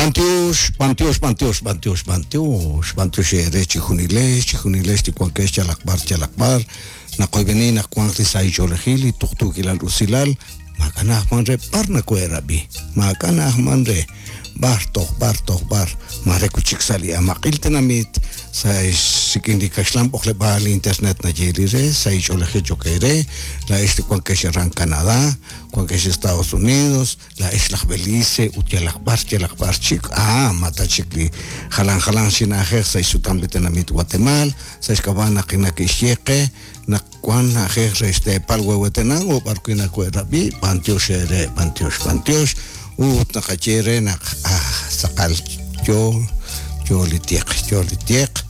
B'antiox, b'antiox, b'antiox, b'antiox, b'antiox, b'antiox eere chejunilex, chejunilex li wankex yalaq b'ar, yalaq b'ar. Naqoyb'eni naq wanq li sahil ch'oolejil, li tuqtuukilal usilal, maak'a' na'ajman re b'ar nakohe'rab'i, maak'a' na'ajman re b'ar toj b'ar toj b'ar, maare wi' chik sa' li amaq'il tenamit, sa' rik'in li kaxlan b'oqleb'aal li internet nayeeli re, sahil ch'oolejil cho'q eere, laa'ex li wankex aran Canadá, wankex Estados Unidos, Laa'ex laj Belice ut yalaq b'ar yalaq b'ar chik, aa, ma ta chik li jalan jalanq chi na'ajej sa' xsutam li tenamit Watemaal, sa' xk'ab'a' naq nake'xye qe naq wan na'ajej re xteepal Huehuetenango b'ar wi' nawe'rab'i, b'antiox eere, b'antiox, b'antiox, ut naqaye re naq, ah, tz'aqal yo, yo li tiq, yo li tiq,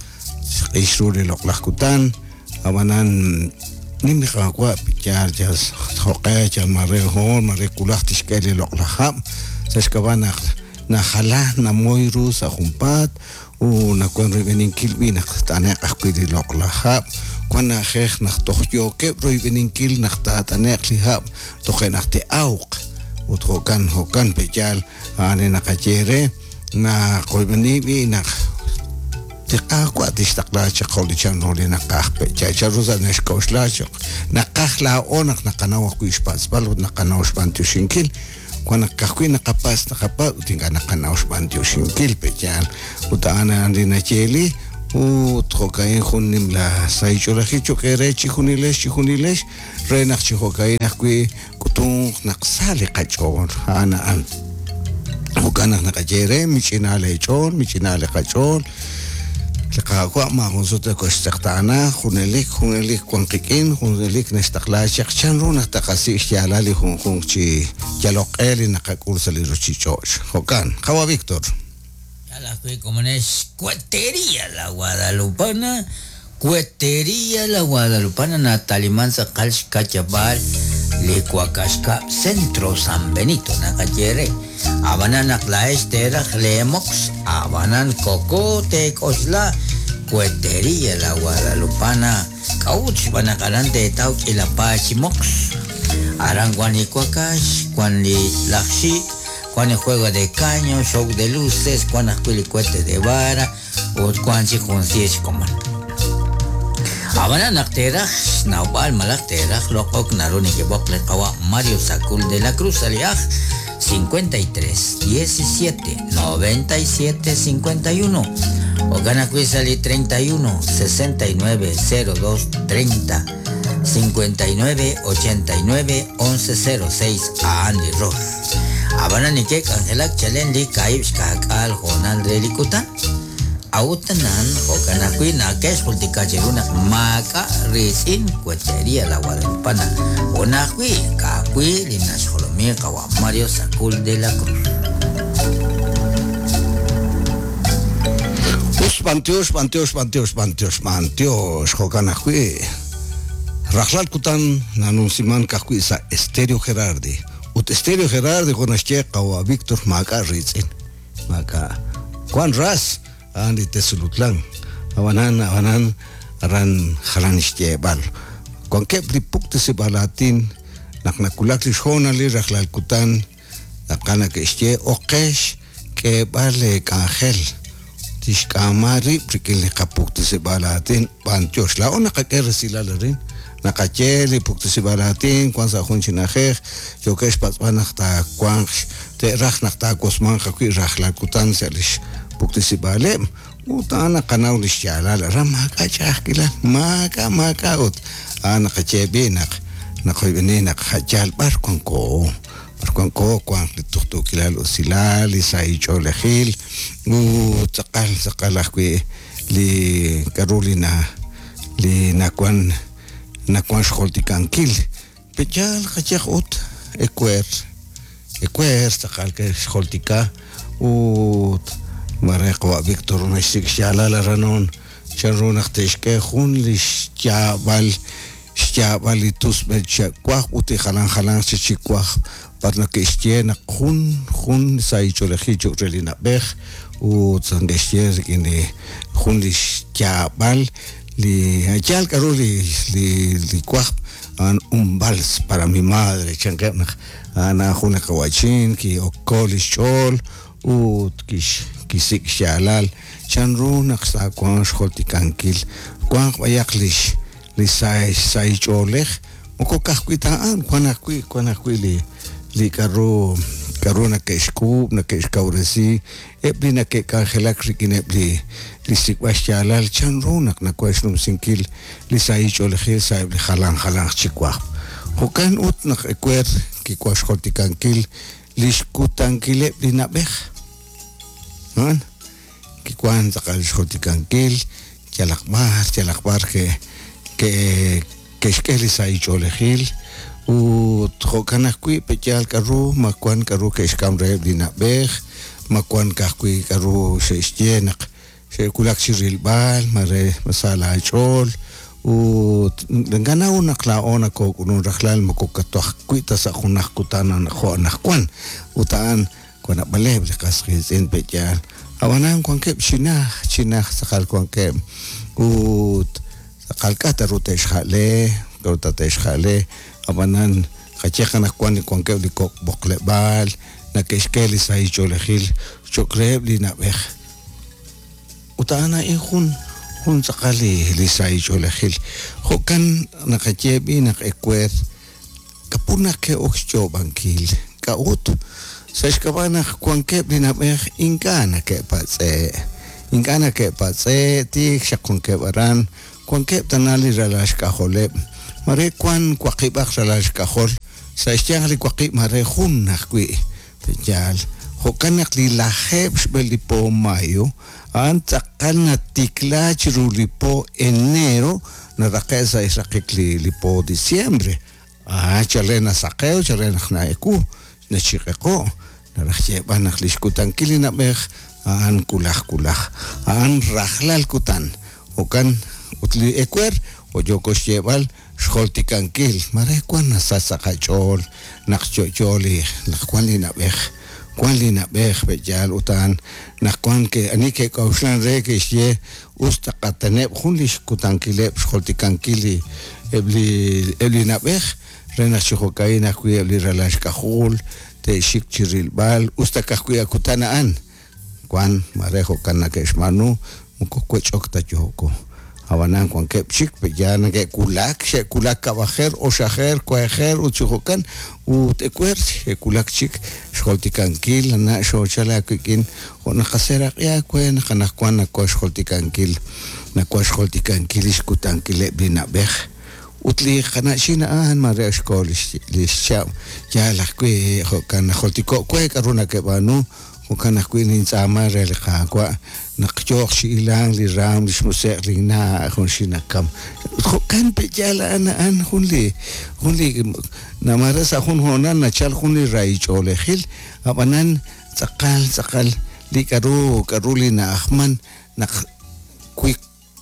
xq'ix ru li loq'laj kutan, ab'anan nim li Qaawa' yaal yal jo'q'e yal mare hoon mare wulaj tixk'e li loq'laj hab' sa' xk'ab'a' naq najala namoy ru sa' junpaat ut nawan royb'eninkil b'i' naq tt'ane'q ajwi' li loq'laj hab', wan na'ajej naq toj yookeb' royb'eninkil naq taat'ane'q li hab' toje' naq te'awq ut jo'kan jo'kan pe' yaal a'an li naqaye re. Naqoyb'eni b'i' naq li Qaawa' tixtaqla chaq jo' li chanru li naqaj pe' yal chanru sa' naxk'oxla chaq. Naqaj laa'o naq naqanaw ajwi' xpatz'b'al ut naqanaw xb'antioxinkil. Wan naq ka'ajwi' naqapatz' naqapatz' ut ink'a' naqanaw xb'antioxinkil pe' yaal. Ut a'an a'an li nayeeli ut jo'ka'in jun nimla sahil ch'oolejil cho'q eere chijunilex chijunilex re naq chi jo'ka'in ajwi' K'utunq naq sa li qach'ool, a'an a'an. Jo'kan naq naqaye eere, mich'ina leech'ool, mich'ina li qach'ool. Li Qaawa' maajun sut nokoxtz'eqtaana, junelik, junelik wan qik'in, junelik naxtaqla chaq chanru naq taqasik' xyaalal li junjunq chi yalok q'e li naqak'ul sa' li ruchich'och'. Jo'kan, qawa' Victor. Yal ajwi' komonex Cuetería La Guadalupana, Cuetería La Guadalupana nataliman tz'aqal xka'yab'aal li Wakaxkab' Centro San Benito naqaye re. Ab'anan naq laa'ex teeraj leemoqs, ab'anan koko teek'oxla Cuetería La Guadalupana. K'a'ut? Xb'aan naq aran teetaw k'iila paay chi moqs. Aran wan li wakax, wan li laj xik', Wan li juego de caño, show de luces, wan ajwi' li cohete de vara ut wan chik jun siir xkomon. Ab'anan naq teeraj xnawb'al malaj teeraj loq'ok naru nekeb'oq li qawa' Mario Sacul de la Cruz sa' li aj 53 17 97 51 jo'kan ajwi' sa' li 31 69 02 30 59 89 11 06 a'an li rox. Ab'anan neke'k'anjelak chalen li kaahib' xka'k'aal hoonal re li kutan. A'ut anan, jo'kan ajwi' nake'xjultika cheru naq maak'a' riitz'in Cuetería La Guadalupana, jun ajwi' ka'ajwi' li naxjolomi qawa' Mario Sacul de la Cruz. Us, b'antiox, b'antiox, b'antiox, b'antiox, b'antiox, jo'kan ajwi'. Rajlal kutan nanumsimank ajwi' sa' Estéreo Gerardi. Ut Estéreo Gerardi jo' naxye qawa' Victor maak'a' riitz'in. Maak'a'. Wan ras, a'an li Tezulutlán. Ab'anan, ab'anan, aran jalan xyeeb'al. Wankeb' li puktesib'aal aatin naq nawulak li xhoonalil rajlal kutan, Tz'aqal nake'xye oqex k'eeb'al leek'anjel tixk'aama rib' rik'in li qapuktesib'aal aatin b'antiox. Laa'o naqak'e resilal arin, naqaye li puktesib'aal aatin wan sa' jun chi na'ajej, yookeb' xpatz'b'al naq taawanq te'raj naq taawosmanq ajwi' rajlal kutan sa' li xpuktesib'aaleb' ut a'an naqanaw li xyaalal aran maak'a' ch'a'ajkilal, maak'a' maak'a' ut a'an naqaye b'i' naq naqoyb'eni naq a' yaal b'ar wanko. B'ar wanko, wanq li tuqtuukilal usilal, li sahil ch'oolejil, ut tz'aqal tz'aqal ajwi' li k'a'ru li na li nawan nawan xjultikankil. Pe' yaal qayehaq ut ewer, ewer tz'aqal ke'xjultika ut mare qawa' Victor naxsik' xyaalal aran on chan ru naq te'xk'e jun li xyaab'al xyaab'al li tusb'il cha'wajb' ut li jalan jalanq chik chi wajb' b'ar nake'xye naq jun jun sahil ch'oolejil cho'q re li na'b'ej ut neke'xye rik'in li jun li xyaab'al li yaal k'a'ru li li li wajb' a'an un vals para mi madre chankeb' naq a'an a'an jun li qawa'chin ki'oko li xch'ool. ut kixsik' xyaalal chanru naq taawanq xjultikankil wanq b'ayaq lix li sahil ch'oolej moko ka'ajwi' ta a'an wan ajwi' wan ajwi' li li k'a'ru k'a'ru nake'xk'uub' nake'xkawresi eb' li nake'k'anjelak rik'ineb' li li xsik'b'al xyaalal chanru naq nawan xnumsinkil li sahil ch'oolejil sa'eb' li jalan jalanq chi wajb'. Jo'kan ut naq ewer kiwan xjultikankil li xkutankileb' li na'b'ej. A'an kiwan tz'aqal xjultikankil yalaq b'ar yalaq b'ar ke ke ke'xk'e li sahil ch'oolejil ut jo'kan ajwi' pe'yaal k'a'ru ma wan k'a'ru ke'xk'am reheb' li na'b'ej, ma wan ka'ajwi' k'a'ru xe'xye naq xe'wulak chi rilb'al mare ma sa laach'ool ut naqanaw naq laa'o nakook'ulunk rajlal moko ka'ajwi' ta sa' junaq kutan jo' anaqwan ut a'an wan naab'aleb' li qas qiitz'in pe'yaal ab'anan wankeb' chi najt chi najt tz'aqal wankeb' ut tz'aqal k'a' ta ru te'xja'le k'a'ru ta te'xja'le ab'anan qayehaq anaqwan wankeb' li kok' b'oqleb'aal nake'xk'e li sahil ch'oolejil cho'q reheb' li na'b'ej ut a'an a'in jun jun tz'aqal li li sahil ch'oolejil jo'kan naqaye b'i' naq ewer k'a'ut naq ke'ok xyoob'ankil k'a'ut sa' xk'ab'a' naq wankeb' li na'b'ej ink'a' nake'patz'e' ink'a' nake'patz'e' tiik xaq wankeb' aran wankeb' tana li ralal xk'ajoleb' mare wan waqib'aq ralal xk'ajol sa' xyanq li waqib' mare jun ajwi' pe'yaal jo'kan naq li lajeeb' xb'e li po mayo a'an tz'aqal natikla chiru li po enero naraqe' sa' xraqik li li po diciembre ah chalen nasaqew chalen naq na'ewu nachiq'eqo' naraj xyeeb'al naq li xkutankil li na'b'ej a'an wulaj wulaj a'an rajlal kutan jo'kan ut li ewer jo' yooko xyeeb'al xjultikankil mare wan nasach sa' qach'ool naq yo'yo li naq wan li na'b'ej wan li na'b'ej pe'yaal ut a'an naq wan ke ani ke'k'a'uxlan re ke'xye us taqateneb' jun li xkutankileb' xjultikankil li eb' li eb' li na'b'ej re naq chi jo'ka'in ajwi' eb' li ralal xk'ajol te'xik chi rilb'al us ta ka'ajwi' a kutan a'an wan mare jo'kan nake'xb'aanu moko wech'ok ta yooko ab'anan wankeb' chik pe'yaal nake'wulak xe'wulak kab'ajer oxajer kuajer ut chi jo'kan ut ewer xe'wulak chik xjultikankil na' xoochal aawik'in jo' naqaseeraq'i aawe naq anaqwan nawan xjultikankil nawan xjultikankil li xkutankileb' li na'b'ej ut li qana'chin a'an mare xko li xchab' yaal ajwi' jo'kan najultiko' we k'a'ru nakeb'aanu jo'kan ajwi' nintz'aama re li Qaawa' naq yooq chi hilank li raam li xmusiq' linna' junxil nakam ut jo'kan pe'yaal a'an a'an jun li jun li mare sa' jun hoonal nachal jun li rahil ch'oolejil ab'anan tz'aqal tz'aqal li k'a'ru k'a'ru li na'ajman naq wi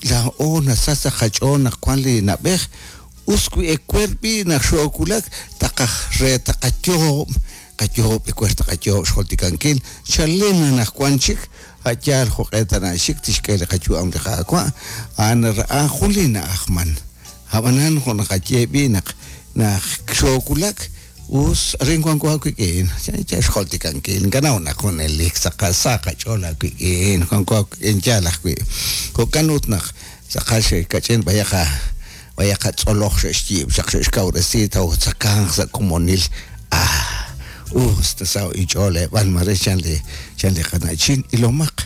laa'o nasach sa' qach'ool naq wan li na'b'ej us wi ewer b'i' naq xoowulak taqaj re taqayoob' qayoob' ewer taqayoob' xjultikankil chalen anaqwan chik a' yaal jo'q'e tana xik tixk'e li qayu'am li Qaawa' a'an a'an jun li na'ajman ab'anan jo' naqaye b'i' naq naq xoowulak us arin wanko aawik'in yaal xjultikankil nkanaw naq junelik tz'aqal sa qach'ool aawik'in wanko aawik'in yaal ajwi' jo'kan ut naq tz'aqal xe'kach'in b'ayaq b'ayaq tz'oloj xe'xyiib' xaq xe'xkawresi tawtzakanq sa' komonil ah us ta sa' inch'ool eb'an mare chan li chan li qana'chin ilomaq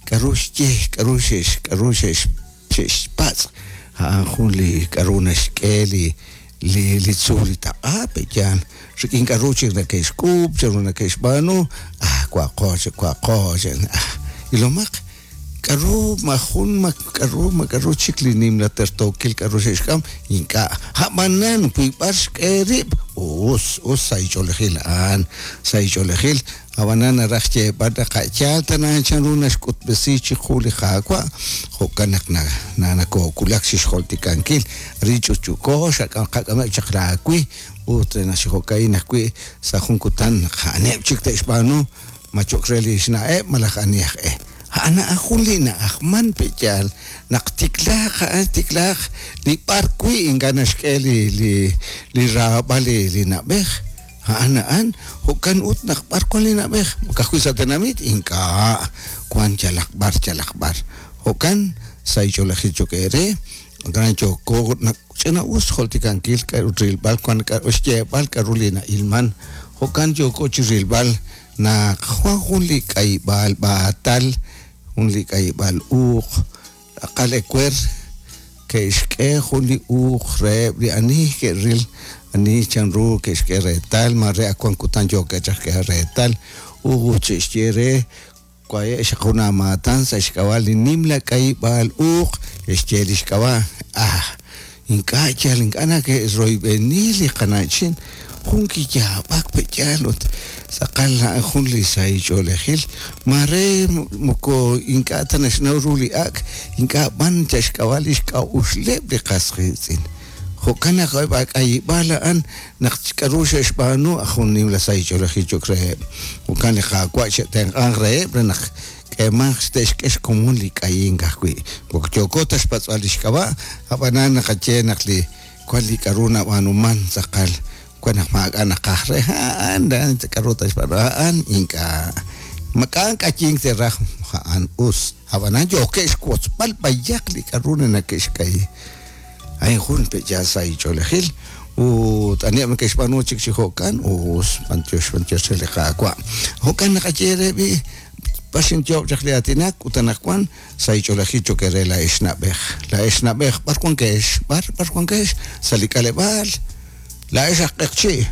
k'a'ru xye k'a'ru xe'x k'a'ru xe'x xe'xpatz' a'an jun li k'a'ru naxk'e li li li tzuul li taq'a pe'yaal rik'in k'a'ru chik nake'xk'uub' chanru nake'xb'aanu ah wa'qo chik wa'qo chik ah ilomaq k'a'ru ma jun ma k'a'ru ma k'a'ru chik li nimla tertookil k'a'ru xe'xk'am ink'a' ab'anan wi b'ar xk'e rib' us us sa' ch'oolejil a'an sa' ch'oolejil ab'anan naraj xyeeb'al naq a'yaal tana chanru naxk'utb'esi chiqu li Qaawa' jo'kan naq na nakoowulak chi xjultikankil arin ch'utch'uko qak'ameb' chaq laawi ut naq chi jo'ka'in ajwi' sa' jun kutan naq a'aneb' chik te'xb'aanu ma cho'q re li xna'eb' malaj ani aj e a'an a'an jun li na'ajman pe'yaal naq tiklaaq a'an tiklaaq li b'ar wi' ink'a' naxk'e li li li raab'al li li na'b'ej A'an a'an, jo'kan ut naq b'ar wan li na'b'ej, ka'ajwi' sa' tenamit ink'a' wan yalaq b'ar yalaq b'ar. Jo'kan sa' ch'oolejil cho'q eere, aran yooko ch'ina-us xjultikankil k'a'ru rilb'al wan k'a'ru xyeeb'al k'a'ru li na'ilman. Jo'kan yooko chi rilb'al naq wan jun li k'ayib'aal b'aatal, jun li k'ayib'aal uuq, tz'aqal ewer ke'xk'e jun li uuq reheb' li ani ke'ril ani chanru ke'xk'e reetal, mare ak wan kutan yookeb' chaq xk'eeb'al reetal, ut xe'xye re waye' xaq jun aamaatan sa' xk'ab'a' li nimla k'ayib'aal uuq, ke'xye li xk'ab'a'. Ah, ink'a' yal ink'a' nake'royb'eni li qana'chin, jun kiyaab'ak pe'yaal ut tz'aqal a'an jun li sahil ch'oolejil, mare moko ink'a' ta naxnaw ru li ak', ink'a' b'an yal xk'ab'a' li xk'a'uxleb' li qas qiitz'in. Jo'kan naq eb' a k'ayib'aal a'an naq k'a'ru xe'xb'aanu jun nimla sahil ch'oolejil cho'q reheb'. Jo'kan li Qaawa' xe'tenq'anq reheb' re naq k'eemanq te'xk'e xkomon li k'ayink ajwi'. Moko yooko ta xpatz'b'al li xk'ab'a', ab'anan naqaye naq li wan li k'a'ru nab'aanuman tz'aqal wan naq maak'a' naqaj re a'an k'a'ru ta xb'aanu a'an ink'a'. Mak'a' k'ayink te'raj a'an us, ab'anan yookeb' xwotzb'al b'ayaq li k'a'ru nake'xk'ayi. A'in jun pe'yaal sahil ch'oolejil ut aniheb' neke'xb'aanu chik chi jo'kan us, b'antiox b'antiox re li Qaawa'. Jo'kan naqaye re b'i' b'ar xinyo'ob' chaq li aatinak ut anaqwan sahil ch'oolejil cho'q eere laa'ex na'b'ej. Laa'ex na'b'ej b'ar wankex, b'ar b'ar wankex sa' li k'aleb'aal, laa'ex aj q'eqchi'.